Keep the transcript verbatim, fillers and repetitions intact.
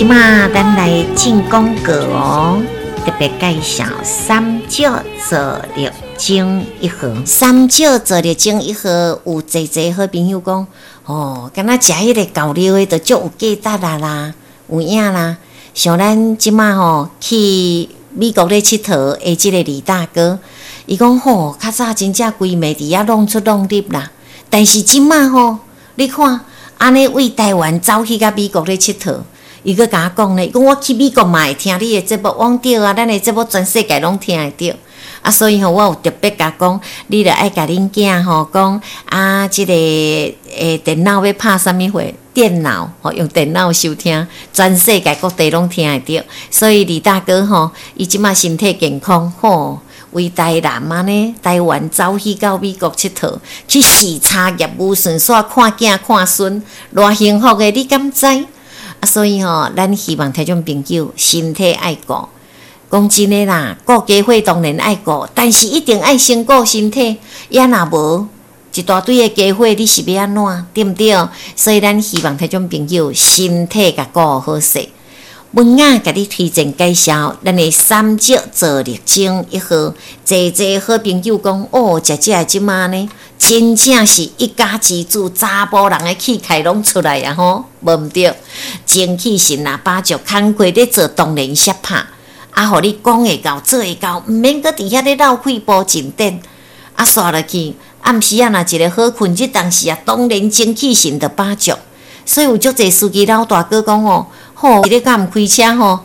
這馬咱來進廣告哦，特別介紹三石坐力精一盒。三石坐力精一盒，有濟濟好朋友講，哦，敢若食彼個厚料的，就足有價值啊啦，有影啦。像咱這馬吼去美國咧𨑨迌的這個李大哥，伊講吼，較早真正規暝佇遐弄出弄入啦，但是這馬吼，你看按呢為台灣走去佮美國咧𨑨迌。伊閣共我講咧，伊講我去美國嘛會聽你的節目，我講對啊，咱的節目全世界攏聽會著。啊，所以吼，我有特別共講，你著愛共恁囝吼講啊，這個欸電腦欲拍啥物貨？電腦吼，用電腦收聽，全世界各地攏聽會著。所以李大哥吼，伊這馬身體健康吼，為台南按呢，台灣走去到美國𨑨迌，去視察業務，順紲看囝看孫，偌幸福的，你敢知？啊，所以吼，咱希望聽眾朋友身體愛顧。講真的啦，顧家伙當然愛顧，但是一定愛先顧身體。啊若無一大堆的家伙，你是欲按怎？對毋對？所以咱希望聽眾朋友身體共顧好勢。文雅共你推薦介紹咱的三石坐力精一盒，濟濟好朋友講哦，食這的這馬呢，真正是一家之主，查埔人的氣概攏出來啊吼，無毋對，精氣神若飽足，工課咧做當然攝拍，啊，予你講會到做會到，毋免閣佇遐咧落氣步進展，啊，煞落去暗時仔若一个好睏，這當時啊，當然精氣神就飽足，所以有足濟司機老大哥講哦。吼，你敢毋開車吼？